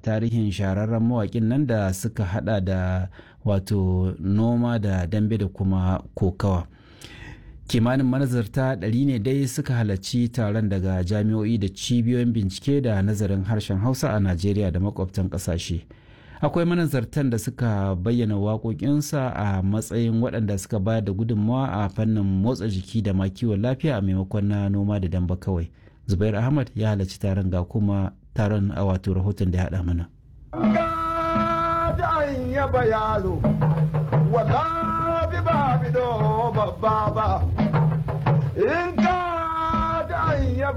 tarihin shahararren mawaƙin nan da suka hada da wato noma da dambe da kuma kokawa. Kimanin manazarta 100 ne dai suka halarci taron daga jami'o'i da cibiyoyin bincike da nazarin harshen Hausa a Najeriya da makwabtan ƙasashe. Akwai manazartan da suka bayyana waƙoƙinsa a matsayin waɗanda suka bayar da gudunmawa a fannin motsa jiki da ma kiwon lafiya a maimakon na noma da damba kawai. Zubair Ahmad ya halarci taron, ga kuma taron a wato rahoton da ya haɗa mana.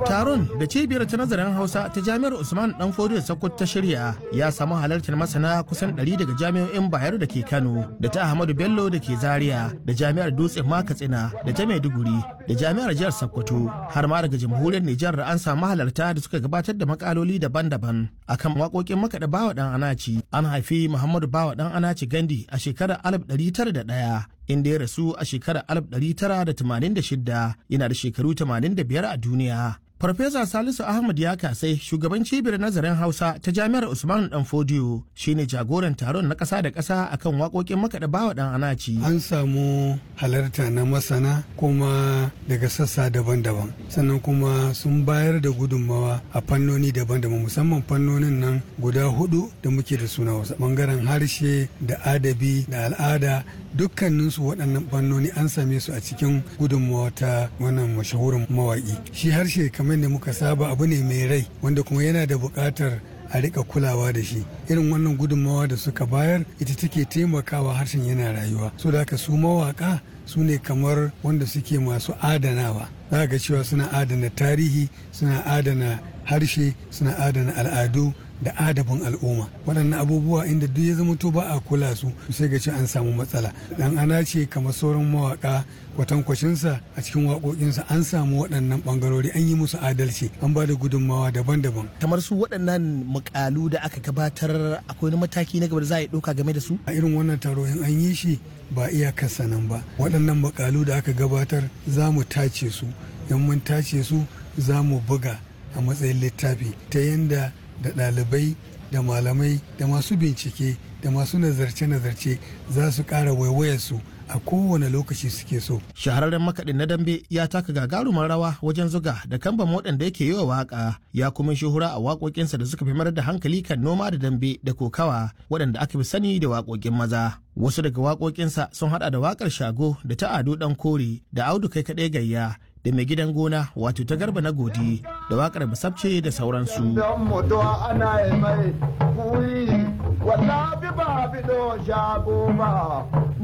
Taron da cibiyar ta nazarin Hausa ta Jami'ar Usman Dan Fodiyo Sokoto ta shirya ya samu halartar masana kusan 100 daga jami'o'in Bayero da ke Kano, da ta Ahmadu Bello da ke Zaria, da Jami'ar Dutse ma Katsina, da ta Maiduguri, da Jami'ar Jihar Sokoto, har ma daga Jamhuriyar Nijar da an samu halarta da suka gabatar da makaloli daban-daban akan waƙoƙin makaɗa Bawa Dan Anaci. An haifi Muhammadu Bawa Dan Anaci Gandi a shekarar 1901, inda ya rasu a shekarar 1986, yana da shekaru 85 a duniya. Farfesa Salisu Ahmad ya kasai, shugaban cibiyar nazarin Hausa ta Jami'ar Usman Dan Fodiyo, shine jagoran taron na ƙasa da ƙasa akan waƙoƙin makaɗa Bawa Dan Anaci. An samu halarta na masana kuma daga sassa daban-daban, sannan kuma sun bayar da gudunmawa a fannoni daban-daban, musamman fannonin nan guda hudu da muke da suna wasu bangaren harshe da adabi da al'ada. Dukkaninsu waɗannan fannoni an same su a cikin gudunmawa ta wannan mashahurin mawaƙi. Shi harshe, kamar da muka saba, abu ne mai rai wanda kuma yana da buƙatar a rika kulawa da shi. Irin wannan gudunmawa da suka bayar ita take taimakawa harshen yana rayuwa. So da haka su mawaka su ne kamar wanda suke masu adanawa. Za ga cewa suna adana tarihi, suna adana harshe, suna adana al'adu da adabin al'umma. Waɗannan abubuwa, inda duk ya zama to ba a kula su, sai ga ce an samu matsala. Dan Ana ce, kamar sauran mawaka kwatankwacinsa, a cikin waƙoƙinsa an samu waɗannan ɓangarori, an yi musu adalci, an ba da gudunmawa daban-daban. Kamar su waɗannan mukalu da aka gabatar, akwai wani mataki na gaba da za a yi ɗauka game da su? A irin wannan taro, in an yi shi, ba iyakarsa nan ba. Waɗannan mukalu da aka gabatar, za mu tace su. In mun tace su, za mu buga a matsayin littafi, ta yanda da ɗalibai da malamai da masu bincike da masu nazarce-nazarce za su ƙara waiwayarsu a kowane lokaci suke so. Shahararren makaɗin na dambe ya taka gagarumar rawa wajen zuga da kamban waɗanda yake yi wa waƙa, ya kuma shuhura a waƙoƙinsa da suka fi mayar da hankali kan noma da dambe da kokawa, waɗanda aka fi sani da waƙoƙin maza. Wasu daga waƙoƙinsa sun haɗa da waƙar Shago da ta Ado Ɗan Kore da Audu Kai Kaɗai Gayya da Mai Gidan Gona, wato ta Garba na Godi, da waƙar Basabce da sauransu.